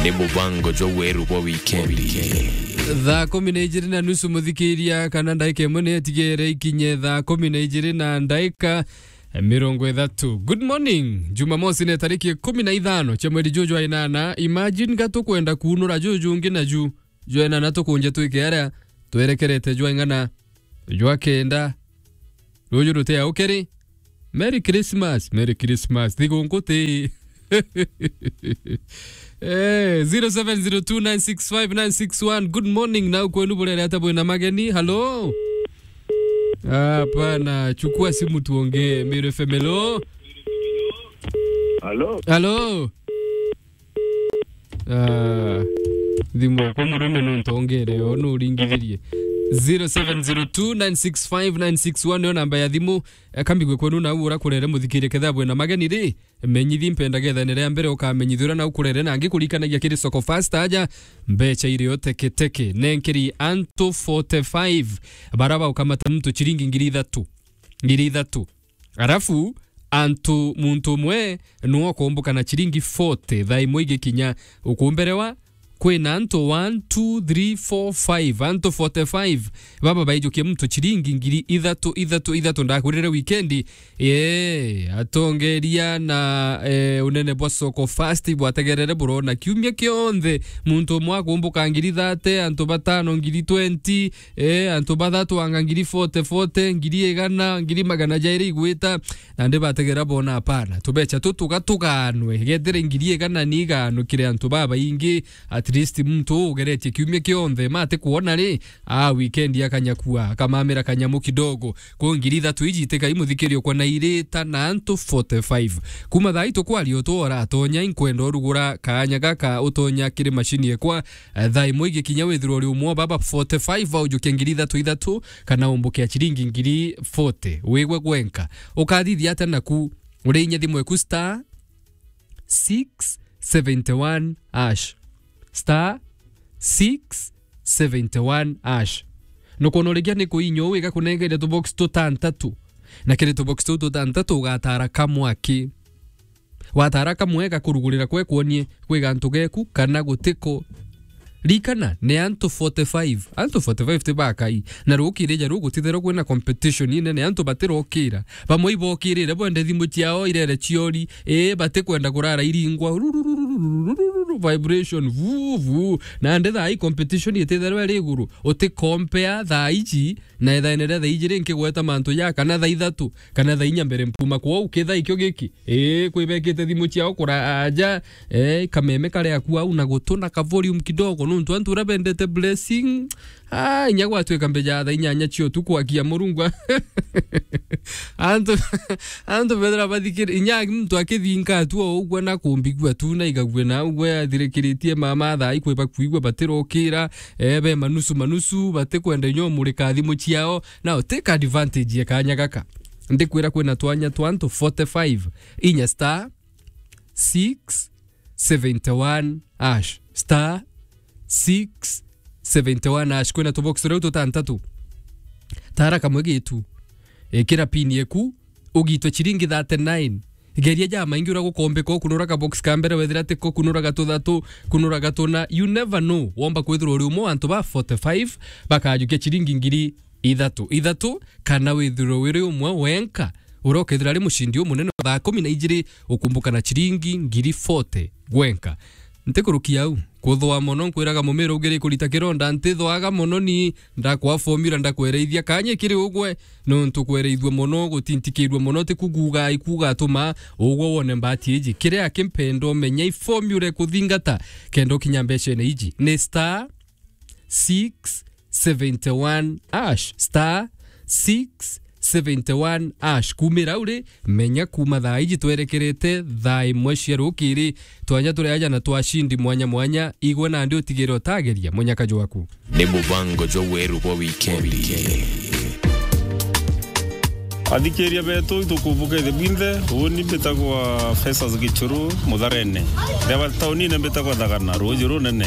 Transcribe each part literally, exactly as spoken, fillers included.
Ni mubango jwa weru bwa wikendi. Thaa kumi na ijiri na nusu, muthikiria, kana ndaika imwe ni itigere ikinye thaa kumi na ijiri na ndaika mirongo ithatu. Good morning. Jumamosi ni tariki ikumi na ithano cia mweri juju jwa inana. Imagine ga tukwenda kuunura juju ungi na ju jwa inana tukunje twike aria twerekerete jwa ing'ana jwa kenda. Ruju ruti au kiri. Merry Christmas, Merry Christmas. Thigunku ti. Eh, zero seven zero two nine six five nine six one. Good morning. Nau kwenu burere ata bwina mageni? Hello? Hapana, chukua simu tuongee. Meru F M, hello? Hello? Hello? Ah, thimu yakwa murume no ntongere yo, no uringithirie. Zero seven zero two nine six five nine six one niyo namba ya thimu. Eh, kambigue kwenu nau urakurere muthikirie ketha bwina mageni ri. Menyithie mpenda getha ni ria mbere ukamenyithia uria nau kurere na ngikurikanagia kiri Soko Fast aja mbecha irio teketeke. Nenkeri antu forty-five bara baukamata muntu chiringi ngiri ithatu. Ngiri ithatu. Arafu, antu, muntu umwe nuwe ukumbuka na chiringi forty, thaa imwe igikinya. Ukumberewa, kwina antu one, two, three, four, five, antu forty-five, baba baijukia muntu chiringi ngiri ithatu, ithatu, ithatu. Ndakwirire wikendi, ee, atongeria na, ee, unene bwa Soko Fast bwategerere burona kiumia kionthe, muntu umwe akumbuka ngiri thirty, antu batano ngiri twenty, Eh, antu bathatu anga ngiri forty, forty, ngiri igana, ngiri magana jairi igwita, na ndi bategera bona, hapana. Tubecha tu tuga tuganwe, gethire ngiri igana ni igano kiri antu babaingi, at least muntu ugeretie kiumia kionthe, mate kuona ri, a weekend akanyakua, akamamira kanyamu kidogo. Kwa ngiri ithatu iji itikai muthikirio kwa na irita na antu forty-five. Kuma thaa itu kwaria utu uratonya, inkwenda urugura kaanya gaka utonya kiri mashini ekwa, eh, thaa imwe igikinya withirwe uri umwe wa baba forty-five baujukia ngiri ithatu ithatu, kana umbukia chiringi ngiri forty. Wigwe gwenka. Ukathithia atia naku? Uri inya thimu eku star six seventy one hash. Star six seventy one hash. Nukwona urikia ni kuinywo wiga kunengere tubox tutantatu. Na kiri tubox tuu tutantatu ugatara kamwe aki. Watara kamwe gakurugurira kwe kwonie kwi gantu geku kana gutiko. Rikana, ni antu forty-five. Antu forty-five ti bakai. Na rukirija ru gutitherwa kwina competition inene, antu batirokira. Bamwe ibokirire bwende thimu ciao irere ciori. Ii, batikwenda kurara iringwa. Rururururururu, vibration, vu, vu. Nandi thaa ii competition ititherwa iri iguru. Uti compare thaa iji na ithaene ria thaa iji ri nkigweta mantu ja kana thaa ithatu, kana thaa inya mbere mpuma kwou, kithaa ikio giki. Ii, kwibekite thimu ciao kuraaja, ee, kameme kari aku au na gutuna ka volume kidogo, nontu antu uria bendete blessing, ah, inya gwatwika mbeja thaa inyanya cia utuku akia Murungu. Antu, antu bethira bathikiri-, inya muntu akithinga tu o ugwe na kumbigua tu na igagua na ugwe athirikiritie mama thaa ikwiba kuigua batirokira, ee, be manusu manusu, batikwenda inya umurika thimu ciao. Now, take advantage ya kanya gaka. Ndikwira kwina twanya twa antu forty-five, inya star six seventy one hash. Star six seventy one hash. Kwina tubox riu tutantatu. Tara kamwe gitu. Ikira pin yeku, ugitwe chiringi thirty-nine. Geria jamaingi uria gukombeka, ukunura ka box ka mbere, wethira tiko, kunura ga tuthatu, kunura ga tuna. You never know. Womba kwithirwa uri umwe wa antu ba forty-five bakajukia chiringi ngiri ithatu, ithatu, kana withirwe wiri umwe wenka uria ukethira ari mucindi umunene wa thaa kumi na ijiri, ukumbuka na chiringi ngiri forty gwenka. Ntikurukia au. Kuthwa mono, nkwiraga mumira ugiri kurita kironda, ntithwaga mono ni, ndakwa formula, ndakwereithia kanya kiri ugwe, nontu kwereithua mono, gutintikirua mono, ti kuguga ikugatuma ugwe wone mbati iji. Kiria kimpenda umenya i formula ikuthingata, kenda ukinya mbecene iji. Ni star six seventy one hash, star six seventy one hash. Kumira uri, menya kuma thaa iji twerekerete thaa imwe cia rukiri, twanya turi aja na twashindi mwanya mwanya, igwe nandi utigire utageria munyaka jwaku. Ni mubango jwa weru bwa wikendi. Athikiria betu, itukumbuka ithe bwinthe. Uuni mbitagwa Festus Gichuru, Mutharene. Ndeba taunine mbitagwa Thagana, ruuji runene.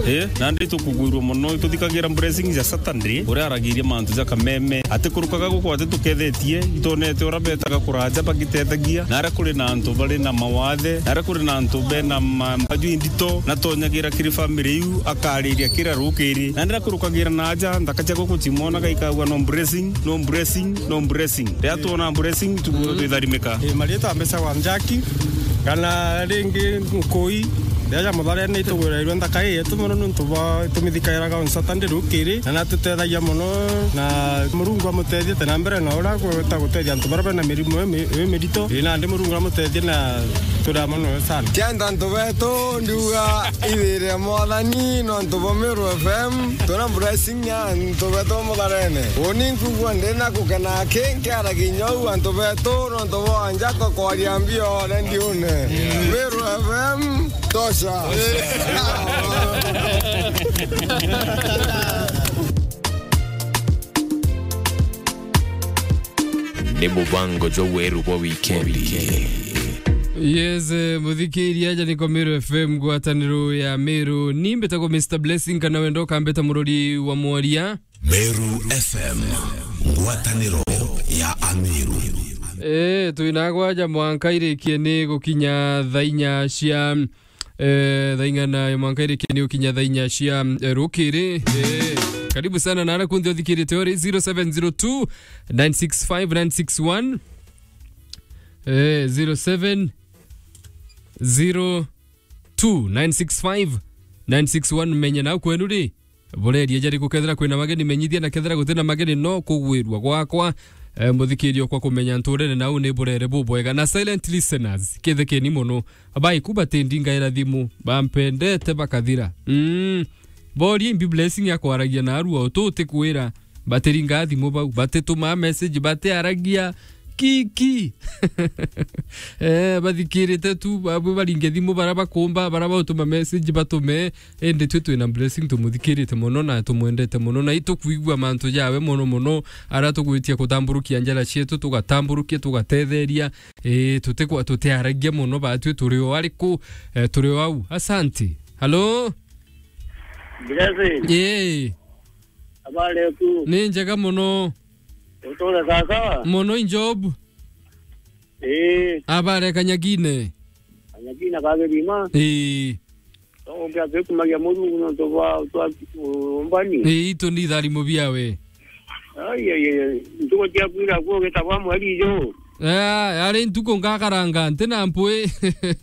Ii, nandi itukugwirua mono, ituthikagira blessing ja Saturday, uria aragiria mantu ja kameme. Atikurukaga guku atitukethetie, itonete uria betaga kuraja bagiteethagia, na aria kuri na antu bari na mawathe, na aria kuri na antu bena ma-, mbaju indito, na tonyagira kiri family iu, akariria kira rukiri. Na ndirakurukagira na aja, nthaka cia guku cimwonaga ikagua no blessing, no blessing, no blessing. Riria twona blessing, tu-, twitharimika. Ii, marietwa mbecagwa Njaki, kana ringi Nkui, riria ja Mutharene itugwirairwe nthaka ii yetu mono niuntu bwa tumithikairaga on Saturday rukiri, na natutethagia mono, na Murungu amutethie te na mbere na uria gwita gutethia antu baria bena mirimu ii mi-, ii mirito. Ii, nandi Murungu amutethie na turia mono sana. Kenda antu betu ndiuga ithire Mwathani nontu bwa Meru F M, tuna blessing ya antu betu Mutharene. Uuni nkugua ndina gukena ki nkiaragia inya uu antu betu nontu bwa Njako kwaria mbio rediune. Meru F M, tosha. Ni mubango jwa weru bwa wikendi. Yes, eh, muthikiria aja niko Meru F M, ngwataniro ya Meru. Ni mbitagwo Mister Blessing, kana wenda ukambita murori wa mwaria. Meru F M, ngwataniro ya Ameru. Eh, twinagwa aja mwanka irikie ni gukinya thaa inya cia Eh, thaa ing'ana ya mwanka irikie ni gukinya thaa inya cia, eh, rukiri. Eh, karibu sana na aria kunthe uthikirite uri zero seven zero two nine six five nine six one. Eh, zero seven zero two nine six five nine six one. Menya nau kwenu ri, bureria jari gukethira kwina mageni, menyithia, na kethira gutina mageni no kugwirua gwakwa. Eh, muthikirio kwa kumenya nturene nau ni burere bubwega. Na silent listeners, kithekeni mono. Baiku batindingaira thimu, bampendete bakathira. Mm. Borie imbi Blessing akwaragia na arua utu utikwira. Batiringa thimu bau, batitumaa message, batiaragia kiki. Eh, bathikirite tu, babu baringe thimu, bara bakumba, bara bautuma message batume. Indi twi twina Blessing tumuthikirite mono na tumwendete mono, na itukwigua mantu jawe mono mono, ara tugwitia kutamburukia njara cietu, tugatamburukia, tugatetheria. Ii, tutikwa-, tutiaragia mono, batwi turi o ariku, eh, turi o au. Asanti. Halo? Blessing. Ii. Habari yaku? Ni njega mono. Uture sawa? Mono i Job. Ii. Habari Kanyagine? Kanyagine ka Githima. Ii. Togukia twikumagia Murungu nontu bwa utwa-, umbani. Ii, itu ni tharimo biawe. Ai, ai, ai, ai. Ntuku cia kwira kuo gitagwa mweri ijo. Eh, ari ntuku ngakaranga, ntina mpui.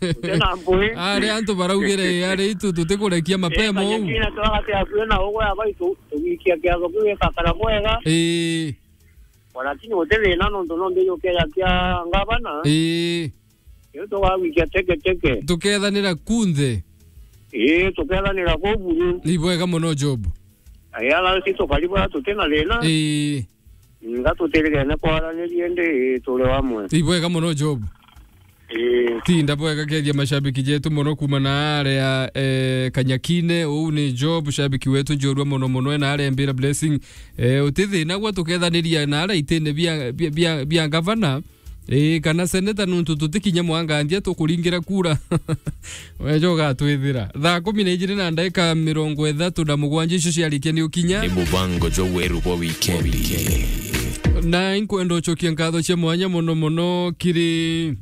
Ntina mpui. Ari antu baraugire, ari itu tutikurekia mapema uu. Kanyagine twagatia kwina ugwe aba itu-, tugikia kiatho kiu gikakara bwega. Ii. Lakini guti thina nontu no mbiji ukeja kia ngavana. Ii. Riu tugagwikia teke teke. Tukethanira kunthe. Ii, tukethanira kuu buru. Ni bwega mono, Job. Aya, ala si tukari bwa tuti na thina. Ii. Nga tutirigene kwaraniria indi, ii, turi wamwe. Ni bwega mono, Job. Ii. Tinda bwega, kethia mashabiki jetu mono kuma na aria, eh, Kanyakine. Uu ni Job, shabiki wetu njorua mono mono, ena aria mbira Blessing. Eh, uti thina gwa tukethaniria na aria itine bia, bia, bia, bia ngavana. Ii, kana seneta, nuntu tutikinye mwangandia tukuringira kura. Wejo ugatwithira. Thaa kumi na ijiri na ndaika mirongo ithatu na mugwanja icio ciarikia ni ukinya. Ni mubango jwa weru bwa wikendi. Na inkwenda ucokia nkatho cia mwanya mono mono kiri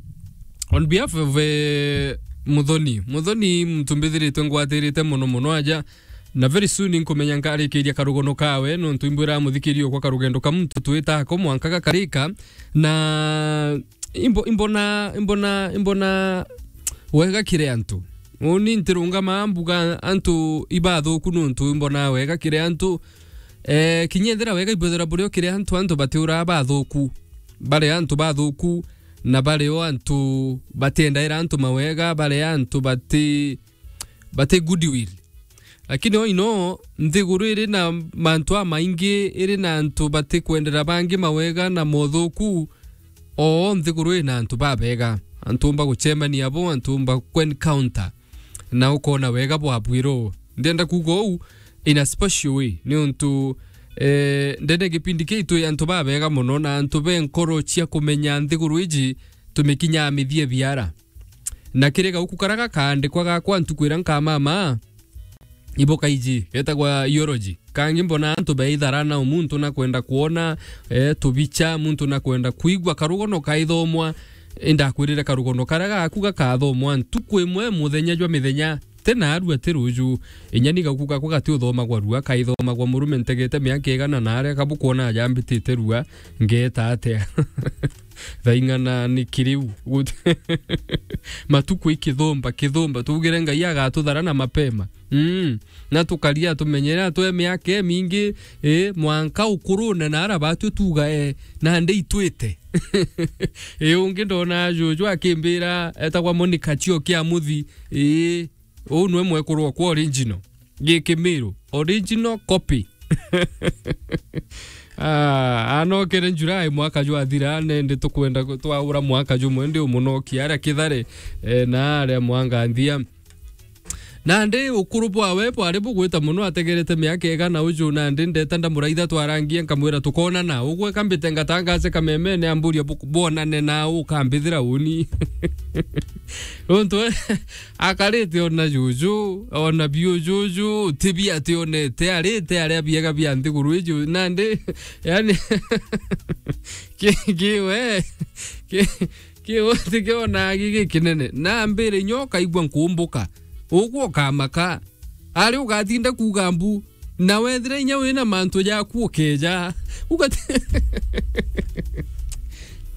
on behalf of, eh, Muthoni. Muthoni muntu mbithiritwe ngwatirite mono mono aja. Na very soon nkumenya nkarikiria karugono kawe, nontu imbwira muthikirio kwa karugendo ka muntu twita ako mwanka gakarika. Na imbo-, imbona, imbona, imbona wega kiri antu. Uni ntirungama mbuga antu ibathuku, nontu imbona wega kiri antu. Eh, kinya ethira wega ibwethira burio kiri antu, antu batiuraa bathuku. Bari antu bathuku, na bari o antu batiendaira antu mawega, bari antu bati, bati goodwill. Lakini o ino, nthiguru iri na mantu amaingi, iri na antu batikwendera bangi mawega na mothuku, o nthiguru ina antu babega. Antu umba gucemania abo, antu umba ku-encounter, na ukona wega bwa bwiro. Ndienda kuuga uu in a special way, niuntu Eh, ndene gipindi kiu twi antu babega mono na antu be nkoro cia kumenya nthiguru iji tumikinyaa mithie biara. Na kiri gauku karia gakaandikwa gakwa ntuku iria nkamama, iboka iji, getagwa eulogy. Kangi mbona antu beithara na muntu na kwenda kwona, eh, tubicha, muntu na kwenda kwigua karugono kaithomwa. Indakwirire karugono karia gaku gakathomwa ntuku imwe muthenya jwa mithenya, ti naarua ti ruju. Inya ni gaku gakwa gati uthomagwa rua, kaithomagwa murume ntegete miaka igana na aria kabukwona ajambitite rua, ngeeta atia? Thaing'ana ni kiriu. Gut-, matuku ikithumba, kithumba. Tugire Ngai agatuthara na mapema. Mm. Na tukaria tumenyere atwe miaka imingi, eh, mwanka ukurune na ara batwi tuga, eh, nandi itwite. Eh, ungi ndona juju akimbira, etagwa Monica Chio kia Muthi. Eh, uu nwe mwekuru okwa original. Gikimiru, original copy. Ah, anokere July mwaka jwathira, nende tukwenda ku-, twaura mwaka jumwe ndi umunokia aria Kithare, eh, na aria Mwanganthia. Nandi ukuru bwawe bwari bugwita mono, ategerete miaka igana uju, nandi ndeta ndamuraitha twarangie, nkamwira tukonana. Ugwe kambite ngatangaze kamemene, amburia bu-, bwonane na ukambithira uni. Nontu we, akarite ona juju, ona biu juju, ti bi ationete, arite aria biega bia nthiguru iju, nandi, yani, ki-, ki-, we, ki-, ki-, ti kionaa gigi kinene. Na mbere inya ukaigua nkumbuka. Ugwe ukamaka. Ari ugatinda kuuga mbu, na wethira inya wina mantu jaku ukeja. Ugati-,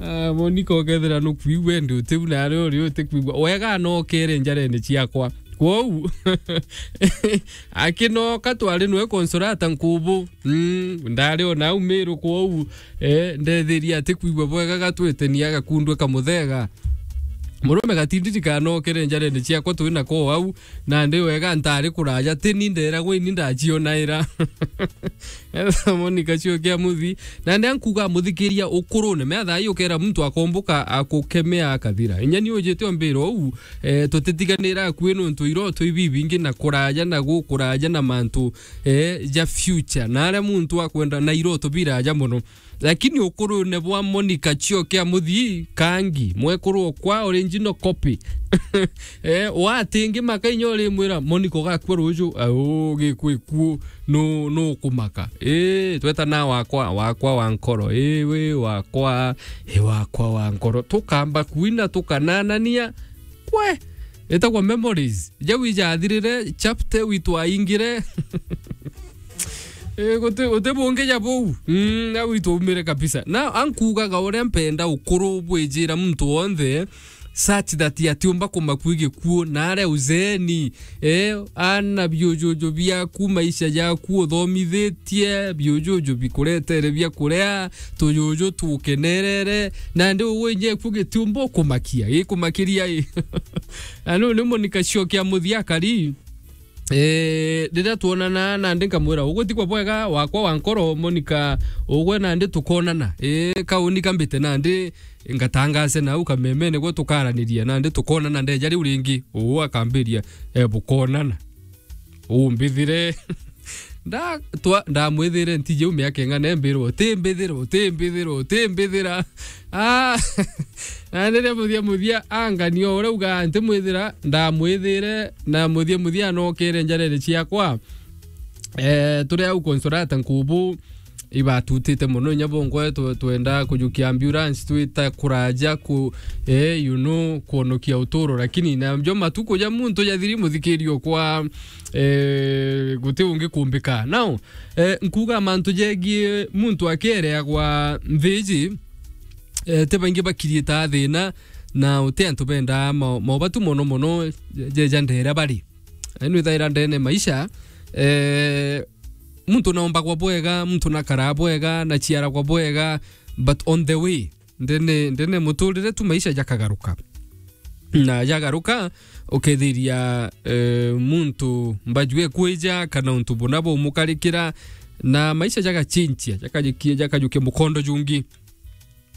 Ah, Monica, ukethira nukwigua, endi utiu, na ari uri utikwigua. Wega anokere njarene ciakwa. Kwou, akinoka twari nwe Consolata Nkubu. Mm, ndari ona au Miru kwou, eh, ndethiria atikwigua bwega gatwite ni agakundwe kamuthega. Murume gatindiri kanokere njarene ciakwa twi nako au, nandi wega ntari kuraja, ti ni nderagwa ini ndacionaira. Etha Monica Chio kia Muthi, nandi ankuga muthikiria ukurune, mea thaa ii ukera muntu akomboka akukemea akathira. Inya ni ujite o mbira uu, eh, tutitiganira akui nontu iroto ibibingi na kuraja na gukuraja na mantu, eh, ja future. Na aria muntu akwenda na iroto biraja mono. Lakini ukurune bwa Monica Chio kia Muthii, kangi, mwekuru okwa, original copy. Eh, watingi maka inya urimwira, Monica ugakua ruju, au, gikwi kuo, nu, nu kumaka. Eh, tweta na wakwa, wakwa wa nkoro, eh, we wakwa, eh, wakwa wa nkoro. Tukamba kuina, tukananania, kwe, itagwa memories. Jau ijathirire, chapter witwaingire. Eh, guti, guti bungi ja buu. Mm, na witwaumire kabisa. Na ankugaga uria mpenda ukuru bwijira muntu wonthe, such that atiumba kumakua gikuo, na aria uzeeni, eh, ana biujuju biaku, maisha jaku uthomithitie, biujuju bikuretere bia kuria, tujuju tukenerere, nandi ugwe inya gikuo gitiumba ukumakia, gikumakiria i. Na nu ni Monica Chio kia Muthii akari, eh, riria twonana nandi nkamwira, "Ugwe ti kwa bwega wakwa wa nkoro, Monica, ugwe nandi tukonana." Eh, kauni kambite nandi ngatangaze nau kamemene gwe tukaraniria, nandi tukonana ndeja riu ringi. Uu akambiria, eh, bukonana. Umbithire. Nda-, twa-, ndamwithire ntiji u miaka ing'ana embirwo, "Utimbithira, utimbithira, utimbithira." Ah, na riria muthia muthia angania uria ugaa ntimwithira, ndamwithire, na muthia muthia anokere njarene ciakwa. Eh, turi au Consolata Nkubu, ibatutite mono, inya bongwe twe-, twenda kujukia ambulance, twita kuraja ku-, eh, you know, kuonokia uturo, lakini na jo matuku ja muntu jathiri muthikirio kwa, eh, guti ungi kumbika. Now, eh, nkuga mantu jegie muntu akereagwa nthiji, eh, ti baingi bakiritaa thina, na uti antu bendaa ma-, maubatu mono mono je-, jeja ndera bari. Enu ithaira ndene maisha, eh, muntu naombagwa bwega, muntu nakaraa bwega, naciaragwa bwega, but on the way, ndene, ndene muturire tu maisha jakagaruka. Na jagaruka, ukethiria, eh, muntu mbaju ekwija, kana untu buna bumukarikira, na maisha jagachinchia, jakajukia, jakajukia mukondo jungi.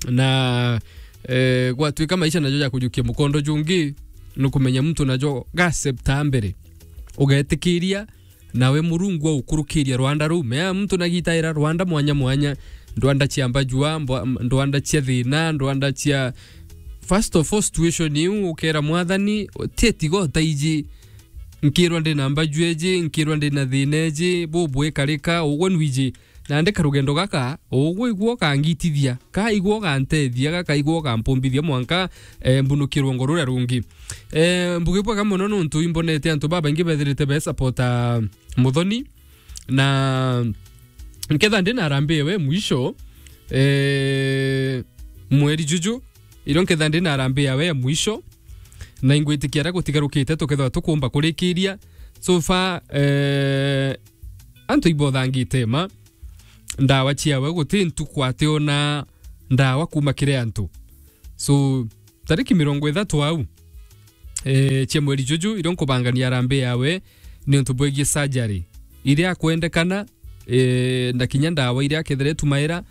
Na, eh, gwatuika maisha najo jakujukia mukondo jungi, nukumenya muntu najo gacepta mbere. Ugetikiria, Nawe Murungu aukurukiria rwanda ruu. Mea muntu nagitaira rwanda mwanya mwanya, ndwanda cia mbajua, mbwa-, ndwanda cia thina, ndwanda cia, first of all, situation iu, ukera Mwathani, ti etiga utaiji, nkirwa ndina mbajua iji, nkirwa ndina thina iji, bubwikarika, ugwe nwiji. Nandi karugendo gaka, ugwe igua ukangitithia, ka igua ugantethia, gaka igua ugampumbithia mwanka, eh, mbunukirwe ngo ruria rungi. Eh, mbugi bwega mono nontu imbonete antu babaingi bethirite be supporta Muthoni, na nketha ndi na harambee yawe ya mwisho, eh, mweri juju, irio nketha ndi na harambee yawe ya mwisho, na ingwitikia aria gutigarukite tukethirwa tukumba kurikiria. So far, eh, antu ibothangite ma ndawa ciawe, guti ntuku ationa ndawa kuma kiri antu. So, tariki mirongo ithatu au, eh, cia mweri juju, irio nkubangania harambee yawe, ni untu bwegie surgery iria akwendekana, eh, na kinya ndawa iria akethira etumaira,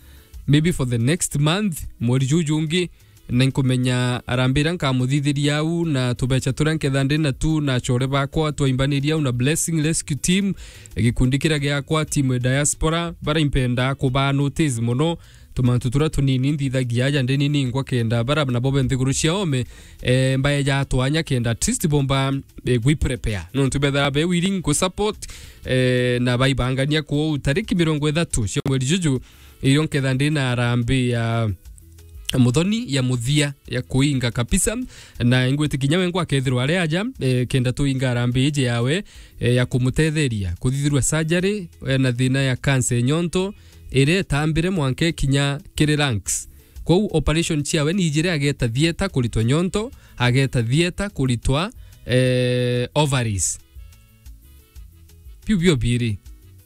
maybe for the next month, mweri juju ungi, na nkumenya harambee iria nkamuthithiria au, na tubecha turia nketha ndi natu, na achore bakwa, twaimbaniria au, na Blessing Rescue Team, gikundi kiria giakwa, timu ya diaspora, baria impenda kubaa notice mono, tumantu turia tunini nthithagia aja ndi nini ngwa kenda bara nabo be nthiguru cia ome, eh, mbaeja twanya kenda at least bomba, eh, gwi prepare. Nontu betha be willing ku support, eh, na baibangania kwou tariki mirongo ithatu cia mweri juju, irio nketha ndi na harambee ya Muthoni ya muthia ya kuinga kabisa, na ingwitikia kinya we ngwa akethirwa ari aja, eh, kenda tuinga harambee iji yawe, eh, ya kumutetheria kuthithirwa surgery, eh, na thina ya cancer ya nyonto, iria itambire mwanka ikinya kiri lungs. Kwou operation ciawe ni ijiri, ageta theatre kuritwa nyonto, ageta theatre kuritwa, eh, ovaries. Biu bio biiri.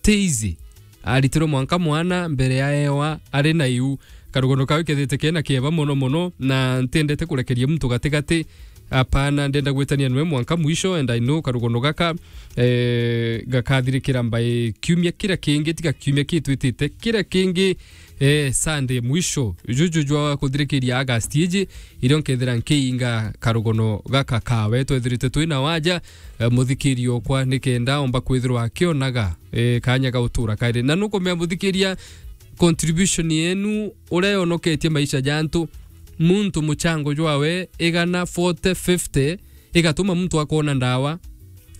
Ti easy. Aritirwe mwanka mwana mbere ya ewa ari na iu. Karugono kawe kethite kena kieba mono mono, na ntiendete kurekeria muntu gatigati. Apana, ndenda gwitania nwe mwanka mwisho, and I know karugono gaka, eh, gakathirikira mbai kiumia kiria kingi, tiga kiumia kitwitite, kiria kingi, eh, Sunday mwisho. Juju jwa kuthirikiria August iji, irio nkethira nkiinga karugono gaka kawe. Twethirite twina waja, eh, muthikiri okwa, nikenda omba kwithirwa akionaga, eh, kanya ga gutura kairi. Na nukumenya muthikiria, contribution yenu uria yonoketie maisha ja antu, muntu muchango jwawe igana, forty, fifty, igatuma muntu akoona ndawa,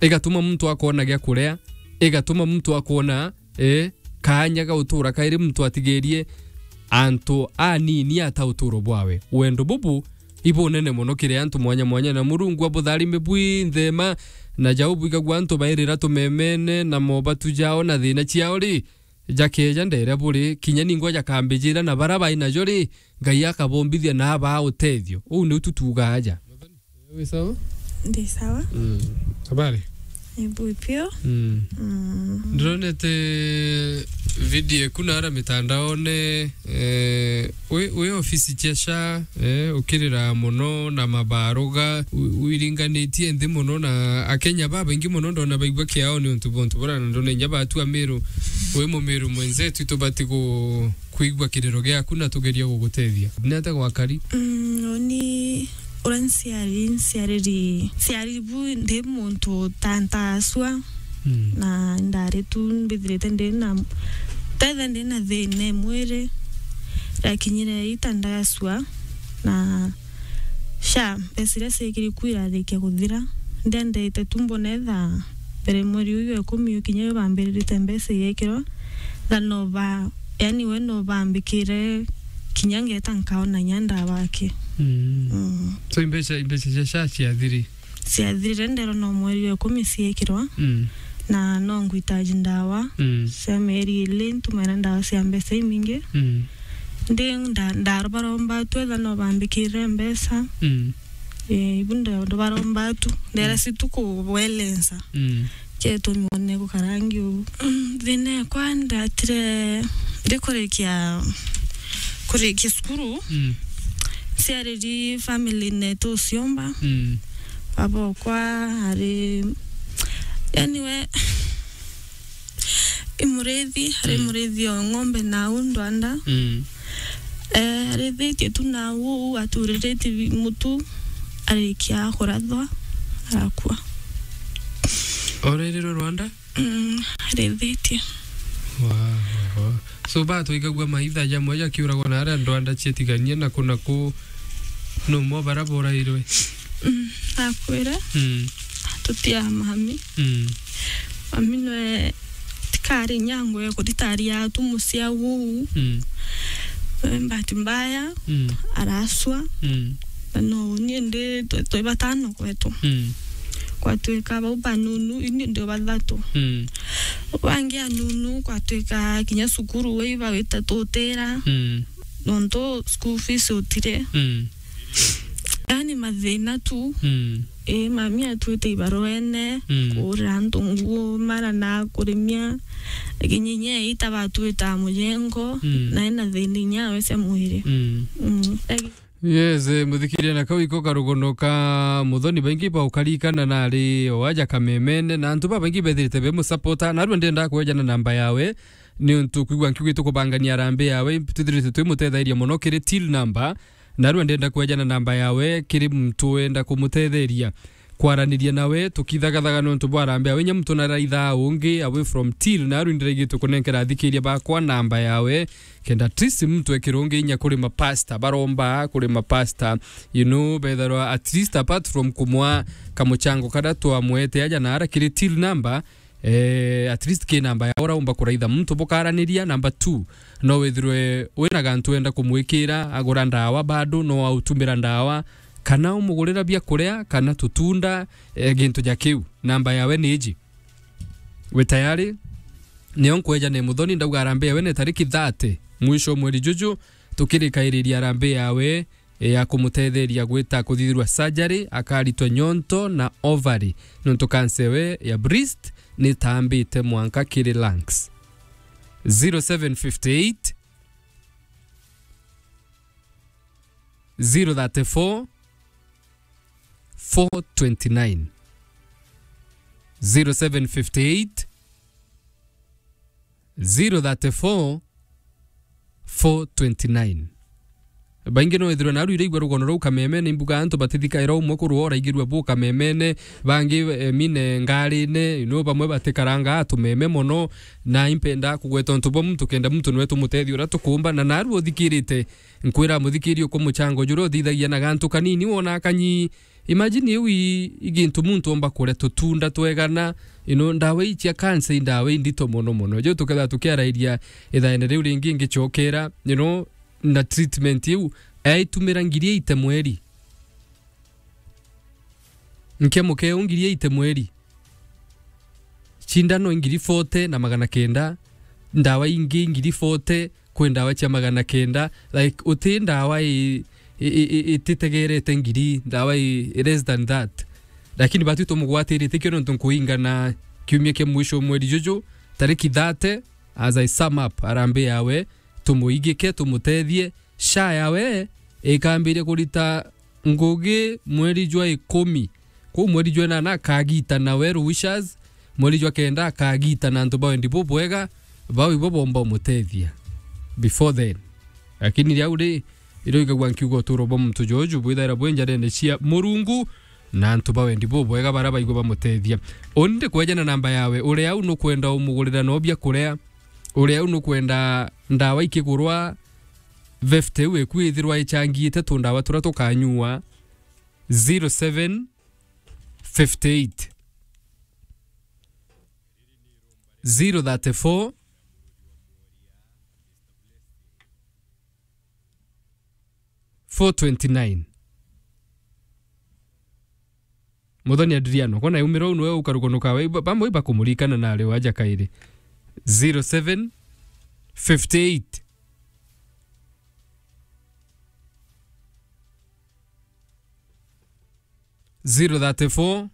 igatuma muntu akoona gia kuria, igatuma muntu akoona, eh, kaanya ga gutura kairi muntu atigirie antu anini ata uturo bwawe. Wendo bubu ibunene mono kiri antu mwanya mwanya, na Murungu abutharime bwinthe ma, na jau bwigagua antu bairira tumemene na mobatu jao na thina ciao ri, jakeja ndere buri, kinya ningwa jakambijira na bara bai najo ri, Ngai akabombithia na abaa utethio. Uu niu tutuuga aja. Wi sawa? Ndi sawa. Mm. Habari? Ni bui piu. Mm. Mm. Ndironete video eku naara mitandaone, eh, wi, wi ofisi cia sha, eh, ukirira mono na mabaruga, wi-, wiringanitie nthi mono, na Akenya babaingi mono ndona baigua kiao ni untu bwa untu bura, na ndona inya batua Miru, wi Mumiru mwenzetu, tubati ku-, kwigua kiriro giaku na tugerie gugutethia. Ni atia gwakari? Mm, uni uria nciari, nciariri, nciari bu ndi muntu ta ntaacua. Mm. Na ndari tu mbithirite ndi na, tetha ndi na thina e mwiri, rakinyire ita ndaacua, na sha mbeca iria ciekiri ku irarikia kuthira. Ndiendete tu mbona etha mbere mweri uyu wa ikumi ukinya yu bambiririte mbeca igekirwa, tha no ba, yani we no bambikire kinya ngeta nkaona inya ndawa aki. Mm. Mm. So imbeca, imbeca cia sha ciathiri? Ciathirire, nderwa no mweri wa ikumi ciekirwa. Mm. Na no ngwitaji ndawa. Mm. Cia mieri ili, ntumira ndawa cia mbeca imingi. Mm. Ndi nda-, ndarobaromba tu etha no bambikire mbeca. Mm. Eh, ibu ndo, ndobaromba tu. Ndera, mm, si tu kuwelensa. Mm. Chetumi one gukarangi uu. Mm, thina ekwa ndatire ndikurikia, kurikia cukuru. Mm. Ciariri family netu uciomba. Mm. Baba okwa ari, yani we, i murithi, ari, mm, murithi o ng'ombe nau ndwanda. Mm. Eh, arithitie tu nau uu, aturiritie bi-, mutu, arikia kurathwa, arakua. Orerirwe Rwanda? Mm, arithitie. Wow, wow. So, ba twaigagua maitha jamwe jakiuragwa na aria ndwanda cietiganie na ku na ku, no mo bara borairwe? Mm, akwire. Mm. Tutia mami. Mm. Mami nwe tikari nyango ya kuritaria tu mucia uu. Mm. Eh, bahati mbaya, mm, araswa. Mm. Na no, ni ndi twe, twe batano kwetu. Mm. Kwatuika bau banunu, ini ndi bathatu. Mm. Bangi anunu, kwatuika kinya cukuru wi bawita tutira. Mm. Nontu school fees utire. Mm. Yani mathina tu. Mm. Ii, mami atwite ibaruene, mm, kuurira antu nguo, mara na kurimia. Lakini inya ita batwita mujengo, mm, na ena thina inya we cia mwiri. Mm. Mm. Yes, eh, muthikiria na kau iko karugono ka Muthoni, baingi baukarikana nari o aja kamemene, na antu babaingi bethirite be musapota, narua ndenda kwejana namba yawe, ni untu kwigua nkiugi tukubangania arambe yawe, twithirite twi mutethairia mono kiri till number, narua ndenda kwejana namba yawe kiri muntu wenda kumutetheria kwaraniria nawe, tukithagathaga nontu bwa arambe yawe, inya muntu naraithaa ungi away from till, narua ndiraigitwe kunenkera athikiria bakwa namba yawe, kenda at least muntu ekirungi inya kuri mapasta, baromba kuri mapasta, you know, betharwa at least apart from kumwa kamuchango karia twamwete aja na ara kiri till number, eh, at least ki namba ya uraumba kuraitha muntu bukaraniria. Number two, no withirwe wina gantu wenda kumwikira, agura ndawa bado, no autumira ndawa, kana umugurira bia kuria, kana tutunda, eh, gintu ja kiu. Namba yawe ni iji. Wi tayari? Nio nkweja ni Muthoni, ndauga arambe yawe ni tariki thirty, mwisho mweri juju, tukirikairiria arambe yawe, e, ya kumutetheria gwita kuthithirwa surgery, akaritwa nyonto na ovary, nontu cancer ewe ya breast nitambite mwanka kiri lungs. Zero seven fifty eight, zero thirty four, four twenty nine. Zero seven fifty eight, zero thirty four, four twenty nine. Baingi no ithirwe naru iraigua rugono ruu kamemene, imbuga antu batithikaira umwe kurwa uraigirua bu kamemene, bangi, eh, mine ngarine, you know, bamwe batikaranga atumeme mono, na impenda kugweta untu bwa muntu kenda muntu nwe tumutethia uria tukumba, na naru uthikirite, nkwira muthikiri uko muchango juria uthithagia na gantu kanini wona kanyi. Imagine iu i, i gintu muntu omba kuria tutunda twegana, you know, ndawa ii cia cancer i ndawa indito mono mono. Ju tukethira tukiarairia ithaene riu ringi ngicokera, you know, na treatment iu, aitumira ngiri eighty mweri. Nkemukeu ngiri eighty mweri. Cindano ngiri forty na magana kenda, ndawa ingi ngiri forty, kwi ndawa cia magana kenda, like, uti ndawa i, i, i, i, ititegerete ngiri, ndawa i, i less than that. Lakini batu tumugwatirite kio nontu nkuingana kiumia kia mwisho mweri juju, tariki thirty, as I sum up, arambe yawe, tumuigike, tumutethie, sha yawe ikambiria kurita ngugi mweri jwa ikumi. Kuu mweri jwa inana akagitana well wishers, mweri jwa kenda akagitana antu ba wendi bubwega, bau ibo bomba umutethia before then. Lakini riu ri, iroigagua nkiuga uturo bwa muntu juju bwithaira bwi njarene cia Murungu, na antu ba wendi bubwega baria baigua bamutethia. Uni ndikwejana namba yawe, uria au nukwenda umugurira no bia kuria, uria au nukwenda ndawa ikigurwa, fifty iu iku ithirwa ichangiite tundawa turia tukanyua, zero seven fifty eight, zero thirty four, four twenty nine. Muthoni Adriano, kona umira uu niwe ukarugonoka we, ba-, bamwe ibakumurikana na ari waja kairi. Zero seven fifty eight, zero thirty four,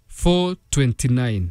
four twenty nine.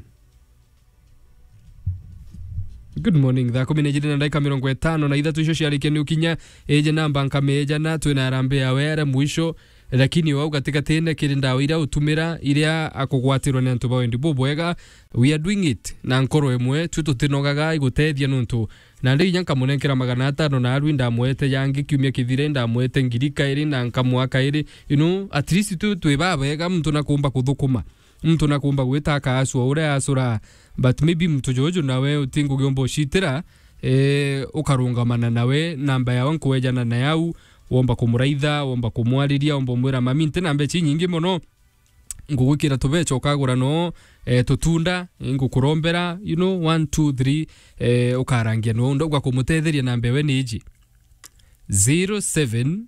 Good morning. Thaa kumi na ijiri na ndagika mirongo itano na ithatu icio ciarikia ni ukinya. Iji namba nkamejana, twina arambe yawe aria mwisho, lakini wau gatigatine kiri ndawa iria utumira, iria akugwatirwa ni antu ba wendi bubwega. We are doing it na nkoro imwe, twi tutinogaga igutethia nontu nandi inya nkamunenkera magana atano na arui ndamwete yangi kiumia kithire, ndamwete ngiri kairi na nkamwa kairi. You know, at least tu twi babega, muntu nakumba kuthukuma. muntu nakumba gwita akaacua uria acura, but maybe muntu juju nawe uti ngugi umba ucitira, eh, ukarungamana nawe, namba yawe nkwejana na yau, womba kumuraitha, womba kumwariria, womba umwira, "Mami, nti na mbeca inyingi mono, ngugwikira tubeca ukagura no, eh, tutunda, eh, ngukurombera, you know, one, two, three, eh, ukarangia no, ndauga kumutetheria namba yawe ni iji, zero seven